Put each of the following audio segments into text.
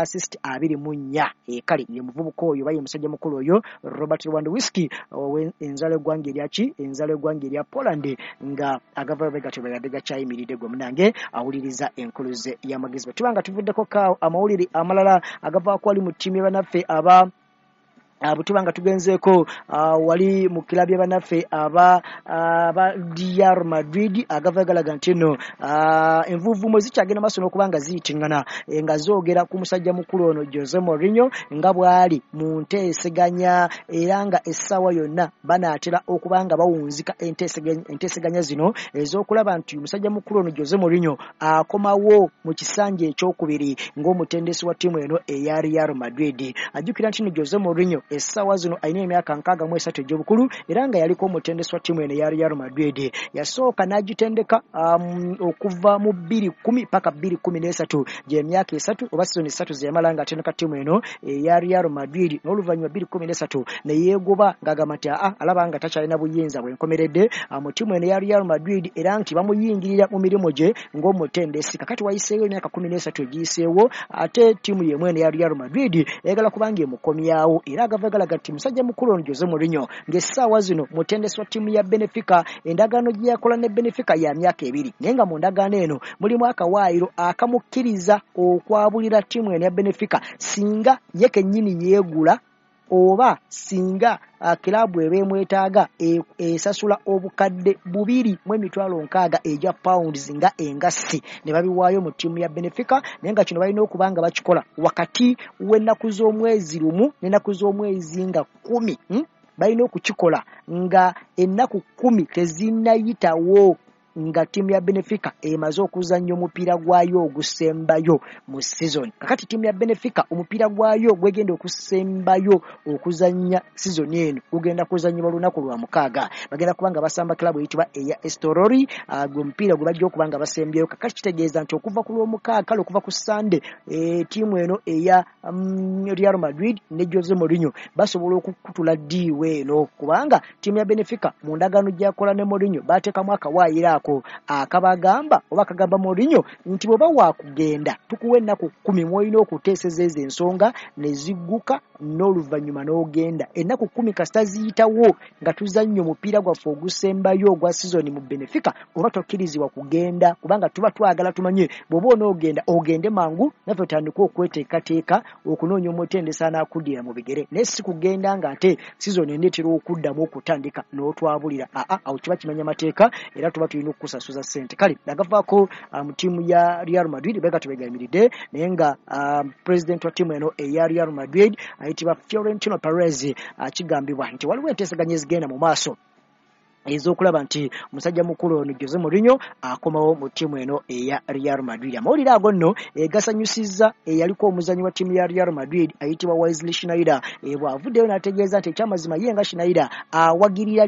Assist 24. Kale ye muvubuka oyo oba ye musajja mukulu oyo Robert Lewandowski, enzalo eggwanga eryaki, enzalo eggwanga erya Poland, nga agavayo bwe gatyo bwe gakyayimiridde. Gwe munange awuliriza enkuluze y'amagezi, bwe tuba nga tuvuddeko kaawo, amawulire amalala agavaako wali mu ttiimu y'abannaffe aba bwe tuba nga tugenzeeko wali mu kilabu y'abannaffe aba Real Madrid, agava galaga nti nno envuuvuumo zikyagenda maaso n'okuba nga ziyitiŋŋana nga zoogera ku musajja mukulu ono Jose Mourinho, nga bw'ali mu nteeseganya era nga essaawa yonna banaatera okuba nga bawunzika enteeseganya zino ez'okulaba nti musajja mukulu ono Jose Mourinho akomawo mu kisanja ekyokubiri ng'omutendesi wa ttiimu eno eya Real Madrid. Ajjukira nti no Jose Mourinho essaawa zino alina emyaka 63 egy'obukulu, era nga yaliko omutendesi wa ttiimu eno eya Real Madrid. Yasooka n'agitendeka okuva mu 2010 paka 2013, gy'emyaka 3 oba sizoni 3 ze yamala ng'atendeka ttiimu eno eya Real Madrid. N'oluvannyuma 2013 ne yeegoba ng'agamba nti aa, alaba nga takyalina buyinza bwenkomeredde mu ttiimu eno eya Real Madrid, era nti bamuyingirira mu mirimu gye ng'omutendesi. Kakati wayiseewo emyaka 13 egiyiseewo, ate ttiimu y'emu eno eya Real Madrid eyagala kubanga emukomyawo. Era agava galaga nti musajja mukulu ono Jose Mourinho ng'essaawa zino mutendesi wa ttiimu ya Benfica, endagaano gye yakola ne Benfica ya myaka 2, naye nga mu ndagaano eno mulimu akawaayiro akamukkiriza okwabulira ttiimu eno ya Benfica singa ye kennyini yeegula oba singa kiraabu eba emwetaaga esasula 260,000 egya pounds nga engassi ne babiwaayo mu ttiimu ya Benfica. Naye nga kino balina okuba nga bakikola wakati w'ennaku z'omwezi 1 n'ennaku z'omwezi nga 10. Balina okukikola nga ennaku 10 tezinnayitawo nga ttiimu ya Benfica emaze okuzannya omupiira gwayo ogusembayo mu season. Kakati ttiimu ya Benfica omupiira gwayo gwegenda okusembayo okuzannya season eno gugenda kuzannyibwa lunaku lwa mukaaga, bagenda kuba nga basamba club eyitibwa eya Estoril, gwe mupiira gwe bajja okuba nga basembyeyo. Kakati kitegeeza nti okuva ku lwomukaaga, kale okuva ku Sunday, ttiimu eno eya Real Madrid ne Jose Mourinho basobola okukutula ddiiwo eno, kubanga ttiimu ya Benfica mu ndagaano gyakola ne Mourinho bateekamu akawaayiro ako akabagamba oba akagamba Mourinho nti bw'oba waakugenda tukuwa ennaku 10 mw'olina okuteeseza ezo ensonga ne zigguka, n'oluvannyuma n'ogenda. Ennaku 10 kasita ziyitawo nga tuzannya omupiira gwaffe ogusembayo ogwa sizoni mu Benfica, oba tokkirizibwa kugenda, kubanga tuba twagala tumanye bw'oba onoogenda ogende mangu naffe tutandike okweteekateeka okunoonya omutendesi anaakuddira mu bigere, naye si kugenda ng'ate sizoni eneetera okuddamu okutandika n'otwabulira. Aa, awo kiba kimenya mateeka era tuba tulina okukusasuza ssente. Kale agavaako mu ttiimu ya Real Madrid bega tebegayimiridde, naye nga president wa ttiimu eno eya Real Madrid ayitibwa Florentino Perez, kigambibwa nti waliwo enteeseganya ezigenda mu maaso ez'okulaba nti musajja mukulu ono Jose Mourinho akomawo mu ttiimu eno eya Real Madrid. Amawulire ago nno gasanyusizza eyaliko omuzannyi wa ttiimu ya Real Madrid ayitibwa Wesley Sneijder, bw'avuddeyo n'ategeeza nti ekyamazima ye nga Sneijder awagirira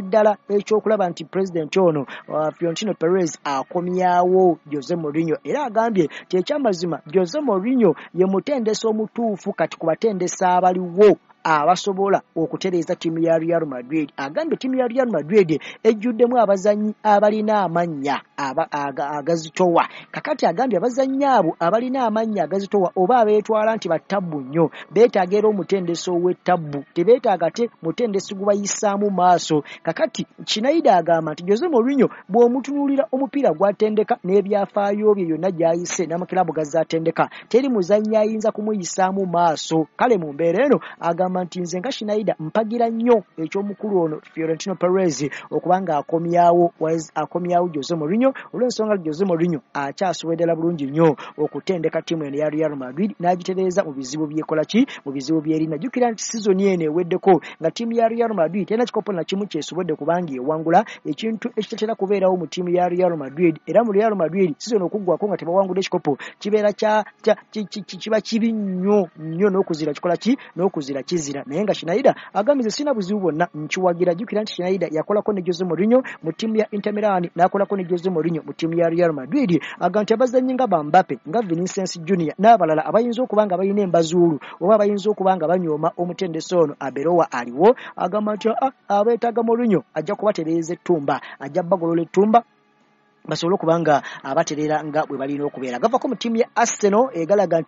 ddala ekyokulaba nti pulezidenti ono Florentino Perez akomyawo Jose Mourinho, era agambye nti ekyamazima Jose Mourinho ye mutendesi omutuufu kati ku batendesi abaliwo abasobola okutereeza ttiimu ya Real Madrid. Agambye ttiimu ya Real Madrid ejjuddemu abazannyi abalina amannya agazitowa. Kakati agambye abazannyi abo abalina amannya agazitowa oba abeetwala nti battabbu nnyo beetaaga era omutendesi ow'ettabbu, tebeetaaga te mutendesi gubayisaamu maaso. Kakati Sneijder agamba nti Jose Mourinho bw'omutunuulira omupiira gw'atendeka n'ebyafaayo bye yonna gy'ayise n'amakiraabu gazzaatendeka, teri muzannyi ayinza kumuyisaamu maaso. Kale mu mbeera eno agamba nti nze nga Sneijder mpagira nnyo eky'omukulu ono Florentino Perez okuba nga akomyawo Jose Mourinho, olw'ensonga Jose Mourinho akyasobola ddala bulungi nnyo okutendeka ttiimu eno eya Real Madrid n'agitereeza mu bizibu byekola ki, mu bizibu byerina. Jjukira nti sizoni eno eweddeko nga ttiimu ya Real Madrid terina kikopo na kimu kyesobodde kubanga ewangula, ekintu ekitatera kubeerawo mu ttiimu ya Real Madrid. Era mu Real Madrid sizoni okuggwako nga tebawangudde ekikopo kibeera kiba kibi nnyo nnyo, n'okuzira kikola ki, n'okuzira kizira. Naye nga Sneijder agambye nze sirina buzibu bwonna, nkiwagira. Jjukira nti Sneijder yakolako ne Jose Mourinho mu ttiimu ya Inter Milan, n'akolako ne Jose Mourinho mu ttiimu ya Real Madrid. Agamba nti abazannyi nga ba Mbappe, nga Vinicius Junior n'abalala abayinza okuba nga balina embazuulu oba abayinza okuba nga banyooma omutendesi ono Arbeloa aliwo, agamba nti abeetaaga Mourinho, ajja kubatereeza ettumba, ajja bagolola ettumba. Basobole okuba nga abatereera nga bwe balina okubeera. Gavako mu ttiimu ya Arsenal egalaga nti